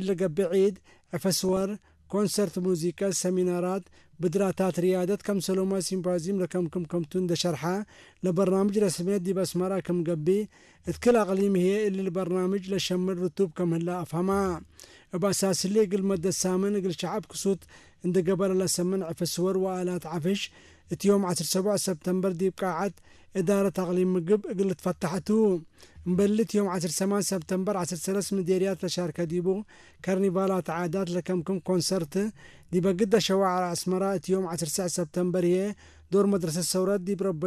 ለገብዒድ ዕፈስወር ኮንሰርት ሙዚቀ ሰሚናራት ብድራታት ርያደት ከም ሰሎማ ሲምፖዚም ለከምክም ከምቱ እንደሸርሓ ለበርናምጅ ረስሜት ዲብ ኣስመራ ከም ገቢ እትክል ኣቕሊም ህየ እሊ ለበርናምጅ ለሸምል ርቱብ ከም ህላ ኣፍሃማ። እብ ኣሳስሊ እግል መደት ሳምን እግል ሸዓብ ክሱት እንደገበረ ለሰምን ዕፈስወር ወኣላት ዓፍሽ እቲ ዮም ዓሰርተ ሰቡዕ ሰብተምበር ዲብ ቃዓት እዳረት ኣቕሊም ምግብ እግል ትፈታሕቱ። እምበሊ እቲ ዮም ዓሰርተ ሰማን ሰብተምበር ዓሰርተ ሰለስት ምዴርያት ለሻርከ ዲቡ ከርኒቫላት ዓዳት ለከምክም ኮንሰርት ዲበ ግደ ሸዋዕር ኣስመራ እቲ ዮም ዓሰርተ ሰብተምበር ህየ ዶር መድረሰት ሰውረት ዲብ ረበ